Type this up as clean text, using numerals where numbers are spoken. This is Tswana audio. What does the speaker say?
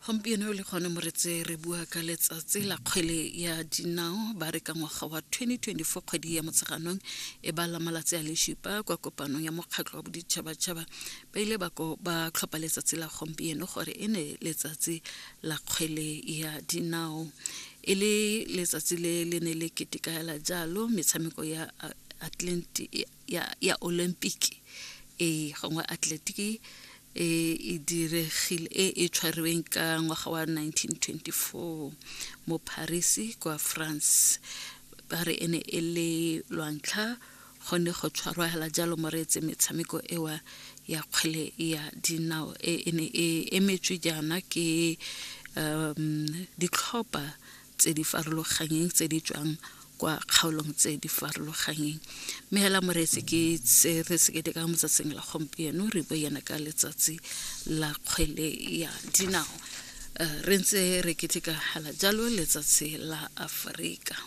Gompieno le gone moretse re bua ka letsatsi la kgwele ya dinao. Ba re ka ngwaga wa 2024 kgwedi ya Motsheganong e bala malatsi a le supa kwa kopanong ya mokgatlho wa boditšhabatšhaba ba ile ba ba tlhopha letsatsi la gompieno gore e ne letsatsi la kgwele ya dinao. E le letsatsi le le ne le ketekaela jalo metshameko ya Atlantic ya, ya Olympic e gongwe atletiki e e diregile e e tshwariweng ka ngwaga wa 1924 mo Paris kwa France. Ba re e ne e le lwantlha go ne go tshwarwa hela jalo moreetse metshameko ewa ya kgwele ya dinao e e ne e emetswe jaana ke um ditlhopha tse di farologanyeng tse di tswang kwa kgaolong tse di farologanyeng. Mme hela moreetsi ke tse re se ketekang motsatsing la gompieno, re bua yana ka letsatsi la kgwele ya dinao. Re ntse re keteka hela jalo letsatsi la Aforika.